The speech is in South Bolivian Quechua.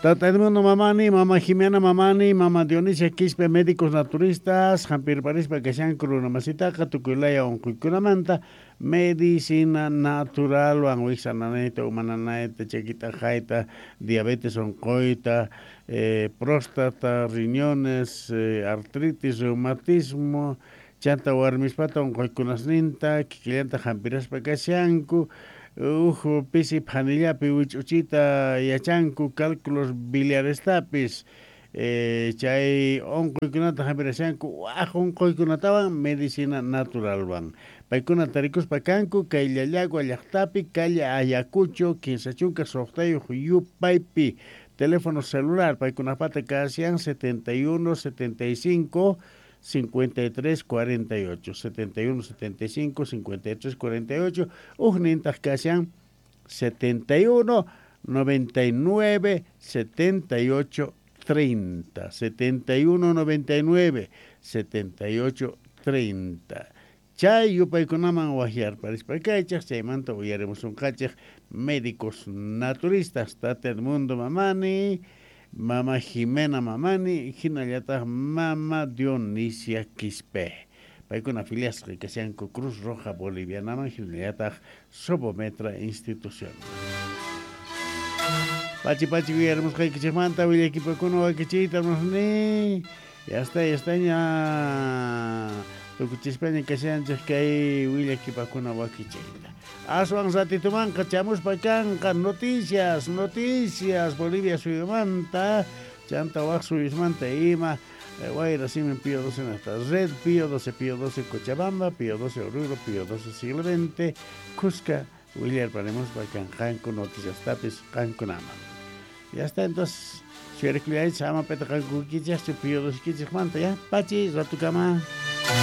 Tata Edmundo Mamani, Mama Jimena Mamani, Mama Dionisia Quispe, médicos naturistas, hampirparispa kashanku runamasitaqa tukuy laya unquykunamanta medicina naturalwan wiksa nanayta, uma nanayta, chaki t'aqayta, diabetes unquyta, próstata, riñones, artritis, reumatismo, chanta warmispata unquykunasninta kikillanta hampiraspa kashanku. Uj pisi phanillapi wich'uchiyta yachanku cálculos biliarestapis, chay unquykunata hampirashanku waj unquykunatawan medicina naturalwan. Paykuna tarikuspa kanku kay Llallagua llaqtapi, calle Ayacucho, 36 yupaypi. Teléfono celular paykunapata kashan 71 75 53 48, 71 75 53 48, ujnintaq kashan 71 99 78 30, 71 99 78 30. Chay yupaykunaman wajyarparispa kaychej, chaymanta uyarimusunqachej médicos naturistas, Tata Edmundo Mamani, Mama Jimena Mamani, hinallataq Mama Dionisia Quispe. Paykuna afiliasqa kashanku Cruz Roja Bolivianaman, hinallataq Sobometra institución. Pachi pachi uyarimusqaykichejmanta willakipakuna wakichiyta ni. Ya está, ya está ña. Tukuchispaña kashanchej kay willakipakuna wakichiyta. Aswan ratitumanqa chamuspa kanqa noticias, noticias Bolivia suyumanta, chanta waj suyusmanta ima, Wayra Simen Pío 12 nuestra red, Pío 12, Pío 12 Cochabamba, Pío 12 Oruro, Pío 12 Siglo XX, Cusca, willarparemuspa kanqanku noticias tapis qankunaman. Ya está, entonces, suyarikulaychis ama peta qankukichaschu Pío 12 kichejmanta, ya, pachi, ratukama.